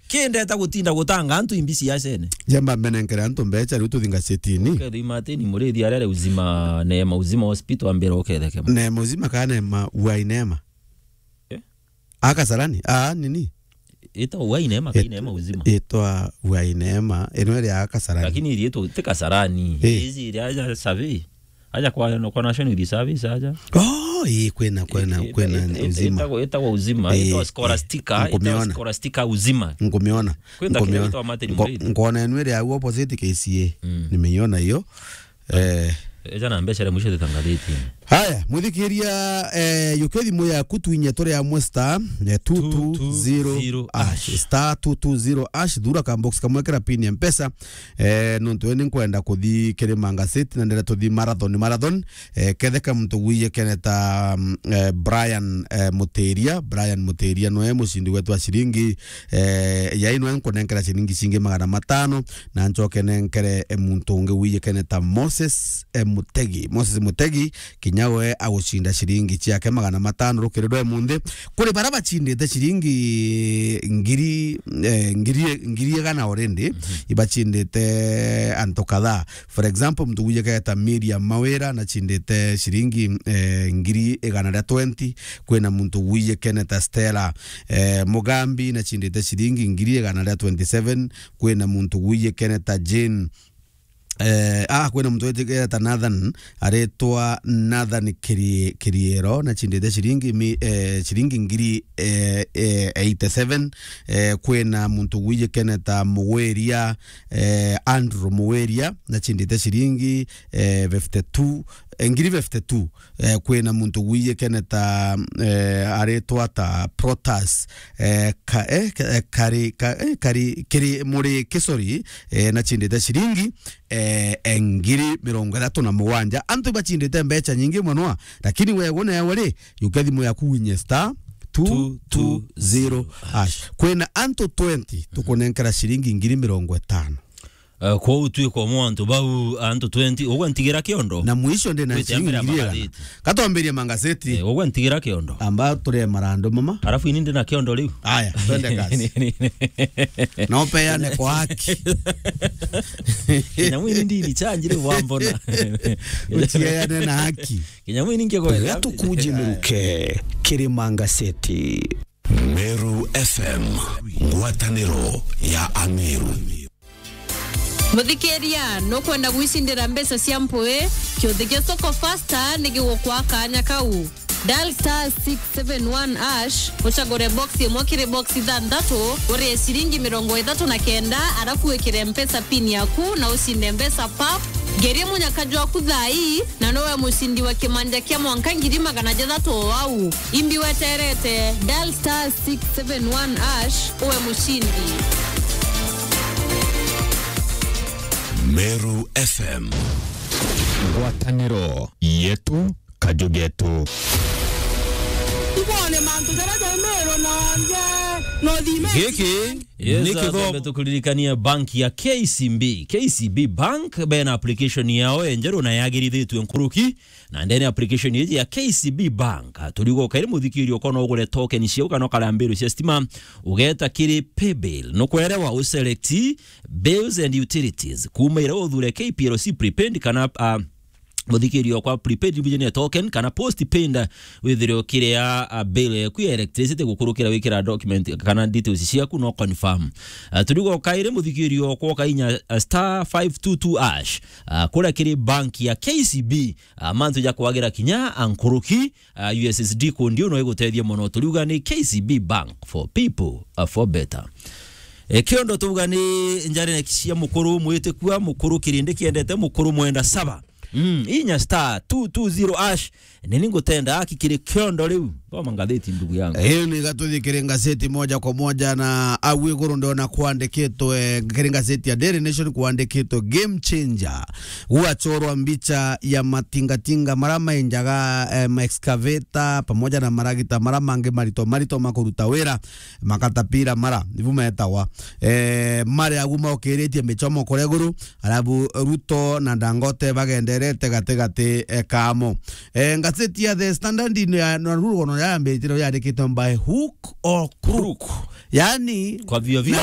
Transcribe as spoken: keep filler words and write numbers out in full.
Kindeta gutinda gutanga antu imbi siasene. Jamba mbenenkere antu mbecha riu tuthi ngazetini. Ketho imatini murithi arere uzima, Neema Uzima Hospital ambira uketheke. Neema Uzima kana Neema Uai Neema? Eh? A Kasarani? Ah, nini? Ita Uai Neema, kai Neema Uzima? Itwa Uai Neema, ino iri a Kasarani. Lakini iri itu ti Kasarani. Eh. Izi iri aja survey. Aja kwa, no, kwa National Youth Service aja. Oh, ii, kwina, kwina, eh, kwina ita-, ita-, Uzima. Itagwa, itagwa Uzima, eh, itagwa Scholastica, eh, itagwa nkumiona. Scholastica Uzima. Nkumiona. Kwina kile itagwa Martin Muriithi. Nkuona enu iri au opposite K C A. Mm. Nimeiona hiyo. Eh. Eja na mbeca ria mwisho thitangathitini. Haya, mwithikiria, eh, yuke thimu yaku twinye turi amwe star, eh, two two zero hash. Star two two zero hash, thura ka box kamwe kira pin ya Mpesa. Eh, nontu ni nkwenda kuthi kiri Manga City na ndire tuthi marathon, marathon. Eh, ketheka muntu gwiye kene ta, mm, eh, Brian, eh, Mutiria. Brian Mutiria noe mucindi wetu wa ciringi, eh, yai noe nkunenkera ciringi cingi magana matano, na ncoke nenkere, eh, muntu ungi gwiye kene ta Moses, eh, Mutegi. Moses Mutegi, kinya we agucinda ciringi ciake magana matano rukiri rwa munthi. Kuri bara bacindite ciringi ngiri, eh, ngiri, ngiri igana already, mhm, ibacindite antu kadhaa. For example, muntu gwiye kene ta Miriam Mawira, nacindite ciringi, eh, ngiri igana ria twenty. Kwina muntu gwiye kene ta Stella, eh, Mugambi, nacindite ciringi ngiri igana ria twenty-seven. Kwina muntu gwiye kene ta Jane, eh, ah, kwina muntu witikia ta Nathan, aritwa Nathan Kiri-, Kiriero, nacindite ciringi mi-, eh, ciringi ngiri, eh, eh, eighty-seven. Eh, kwina muntu gwiye kene ta Mugwiria, eh, Andrew Mugwiria, nacindite ciringi, eh, fifty-two, eh, ngiri fifty-two. Eh, kwina muntu gwiye kene ta, eh, aritwa ta Protas, eh, ka-, eh, ka-, eh, kari, ka-, eh, kari, kiri muri kisori, eh, nacindite ciringi, eh, eh, ngiri mirongo ithatu na mugwanja. Antu bacindite mbecha nyingi mono, lakini wewe newe ri, yuke thimu yaku winye star two two zero hash. Kwina antu twenty tukunenkera ciringi ngiri mirongo itano. Eh, kwou twikwa mwa antu bau, antu twenty, ugwe ntigira kiondo. Na mwisho ndi na ciringi ngiri igana. Katwambirie mangazeti. Eh, ugwe ntigira kiondo. Amba turie marandu mama. Alafu ini ndi na kiondo riu. Aya, twende kazi. Na upeane kwa haki. Kinya mwini ndini chanjire wambona. Uchiane na haki. Kinya mwini ngegwetha. Gatukuje miruke, kiri mangazeti. Meru F M, ngwataniro ya Ameru. Muthikiria, nukwenda gwicindira mbeca cia mpui? Kiuthi gia Soko Fasta ni gigukwa kanya kau. Dial star six seven one hash, ucagure box imwe kiri box ithanthatu, urie ciringi mirongo ithatu na kenda, arafu wikire Mpesa pin yaku na ucinde mbeca pap. Ngerie munyaka jwaku thaa ii, na nowe mucindi wa kimanja kia mwanka ngiri magana jathatu o au. Imbi weterete, dial star six seven one hash, uwe mucindi. Meru F M. Ngwataniro yetu, kaju getu. Ibone mantu jaria jai Meru na nje, no thime. Giki Yes, ni kithomo. Twambe tukuririkania bank ya K C B. K C B Bank bena application yao enjeru na yagirithitue nkuruki, na ndene application iji ya K C B Bank, turigo kairi muthikirio kono ugure token ciao kana ukarambirwe cia stima, ugeta kiri pay bill. Nukwerewa uselect bills and utilities. Kuma ira uthure K P L C prepaid kana, ah, muthikirio kwa prepaid revision ya token kana postpaid, withire ukiria, a, bill yaku ya electricity gukurukira wikira document kana details ciaku no confirm. A, turigo kairi muthikirio kwa kainya, a, star five two two hash, a, kuria kiri bank ya K C B, a, mantu ja kwagira kinya a nkuruki, a, U S S D kundi uno igutethia mono. Turiuga ni K C B Bank for people, a, for better. E, kiondo tuuga ni njare cia mukuru mwitikua, mukuru kirindi kiendete, mukuru mwenda saba. Mm, inya star two two zero hash. Nini ngutenda aki kiri kiondo riu? Thoma ngatheti, ndugu yangu. Hiyo ni gatuthi kiri ngazeti moja kwa moja, na au iguru ndiona kwandikitwe, kiri ngazeti ya Daily Nation kwandikitwe game changer. Gwachorwa mbicha ya matingatinga mara mainjaga, eh, ma excavator pamoja na maragita mara mangi marito marito makuruta wira, makatapira mara, nibu metagwa. Eh, mari agu maukiritie michomo kure iguru, alafu Ruto na Dangote bagenderete gati gati, eh, kamo. Eh, ngazeti ya The Standard ni ya, na rugono yambitire yandikitwe by hook or crook. Crook. Yani, kwa vio vio. Na